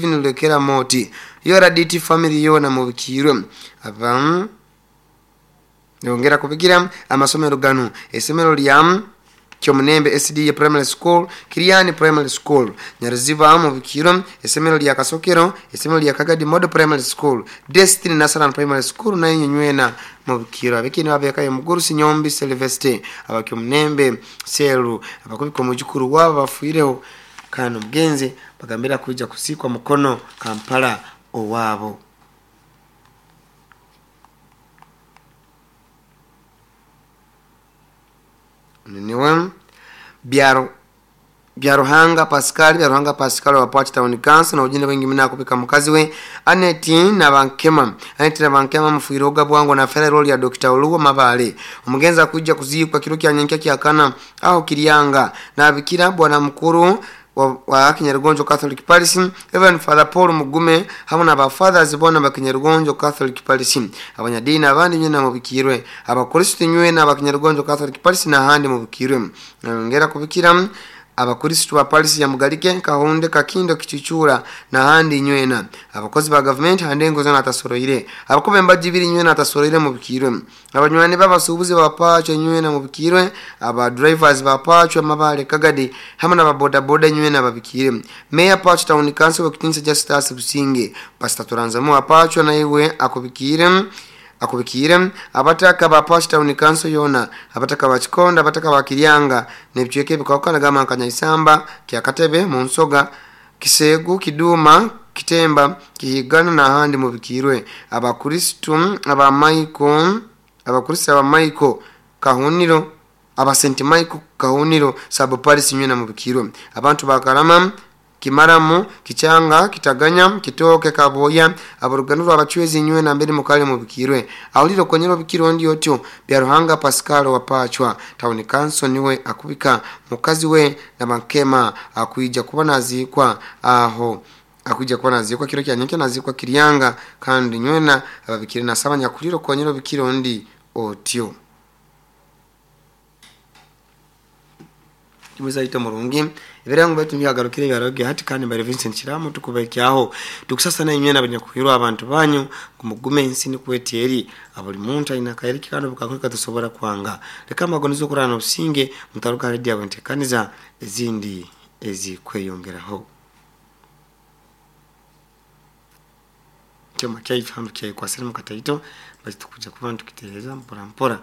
Stephen Lwekera Moti URDT family yona mubikirwe. Aba yongera kubigira amasomero gano: esomero lya Kyomunembe SDA Primary School, Kiriani Primary School, Nyaruziba mubikiro, esomero lya Kasokero, esomero lya Kagadi Model Primary School, Destiny Nasaran Primary School nayo nywena mubikiro. Abekini babekayo Mugurusi Nyombi Celeste abakyomunembe Selu abakubika omujukuru wabo bafuireho kandi omugenzi bagambira kuija kusikwa Mukono Kampala owabo. Niwe Byaruhanga Pascal, Byaruhanga Pascal wa Port Town Council na ujinde wengi mina kupika mukazi we Aneti Nabankema, Aneti Nabankema mfuiroga bwango na federal role ya Dr. Oluwa Mabale. Omugenza kuja kuzikwa kiro kya nyenkia kyakana aho Kirianga na bikira bwana mukuru wa Kinyarugonjo Catholic Parish Reverend Father Paul Mugume hamwe na ba fathers bona ba Kinyarugonjo Catholic Parish, abanyadini abandi nyina mubikirwe, abakristo nywe na ba Kinyarugonjo Catholic Parish na handi mubikirwe. Ngera kubikira abakristo ba Parish ya Mugalike, Kahunde, Kakindo, Kichuchura na handi nywena, abakozi ba government hande ngozo na tasoroire, abakobe mbajibiri nywena tasoroire mubikirwe, abanywani babasubuzi bapacho nywena mubikirwe, aba drivers bapacho Mabale Kagadi hamwe na boda boda nywena babikire. Mayor Pacho Town Council wakitinsa Justice Businge, Pastor Turanzamu apacho na iwe akubikire akubikire, abataka ba Pacho Town Council yona, abataka ba Chikonda, abataka ba Kiryanga nebichweke bikawukana gama Kanyaisamba, Kyakatebe, Munsoga, Kisegu, Kiduma, Kitemba, Kihigana na handi mubikirwe. Abakristo aba Michael, abakristo aba Michael Kahuniro, aba St Michael Kahuniro sub Paris nywena mubikirwe. Abantu bakarama Kimaramu, Kichanga, Kitaganya, Kitoke, Kaboya, abaruganuro abachwezi nywe na mbere mukale mubikirwe. Awuliro konyero bikiro ndi otyo Byaruhanga Pascal wa Pachwa Town Council niwe akubika mukazi we na Bankema akuija kuba nazikwa aho akuija kuba nazikwa kiro kya nyenke nazikwa Kiryanga kandi nywena ababikire nasaba nyakuliro konyero bikiro ndi otyo. Kimuza ito murungi ebirango betu byagarukire byaroge hati kandi bari Vincent Chiramo tukubekyaho tukusasa na imyena abanyakuhirwa abantu banyu kumugume ensi ni kwetieri abuli muntu aina kaeriki kandi bukakweka tusobora kwanga leka magonizo kurana obusinge mutaruka radio abantekaniza ezindi ezikweyongeraho kyoma kyaitu hano kyayikwasira mu kataito bali tukuja kuba tukitereza mpora mpora.